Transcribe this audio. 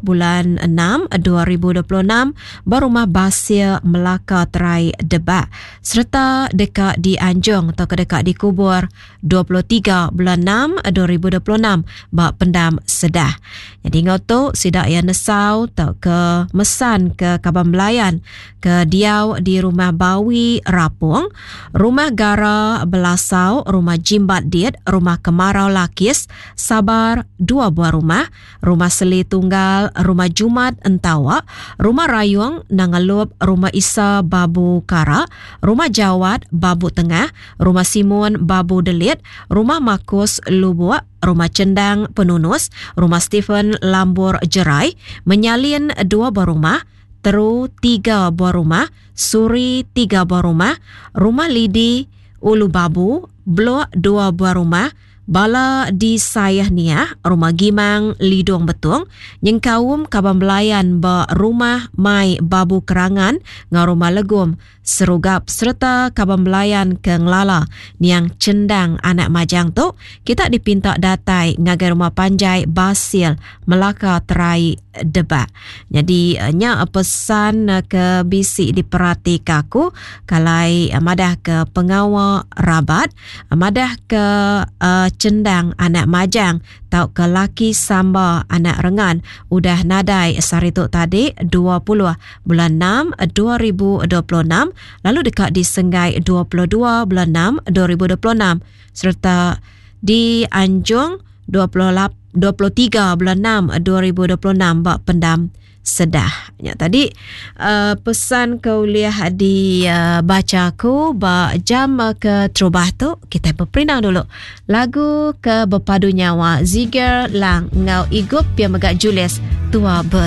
bulan 6 2026 ba Rumah Basil Melaka Terai Debak sereta deka dianjung tauka deka dikubur 23 bulan 6 2026 ba Pendam Sedah. Nyadi enggau tu sida iya nesau tauka mesan ke kaban belayan ke diau di Rumah Bawi Rapong, Rumah Gara Belasau, Rumah Jimbat Dit, Rumah Kemarau Lakis, Sabar, dua buah rumah, Rumah Seli Tunggal, Rumah Jumat Entawa, Rumah Rayong Nanga Lup, Rumah Isa Babu Kara, Rumah Jawat Babu Tengah, Rumah Simun Babu Delit, Rumah Makus Lubuk, Rumah Chendang Penunus, Rumah Stephen Lambur Jerai, Menyalin dua buah rumah, Teru tiga buah rumah, Suri tiga buah rumah, Rumah Lidi Ulu Babu, Blok dua buah rumah, Bala di Sayah Niah, Rumah Gimang Lidong Betong, nyengkaum kaban belayan ba Rumah Mai Babu Kerangan enggau Rumah Legum Serugap sereta kaban belayan ke ngelala niang Chendang anak Majang tu, kita dipinta datai ngagai Rumah Panjai Basil Melaka Terai Debak. Nyadi nya pesan ke bisi diperatika aku kalai madahka pengawa rabat madahka Chendang anak Majang tauka laki Samba anak Rengan udah nadai sehari tu tadi 20 bulan 6 2026 lalu deka disenggai 22 bulan 6 2026 sereta dianjung 23 bulan 6 2026 ba Pendam Sedah. Nya tadi uh, pesan ke ulih dibaca uh, aku ba jam ke terubah tu kita beperindang dulu. Lagu ke bepadu nyawa Ziger Lang ngau Igup pia mega Julius Tua Ber.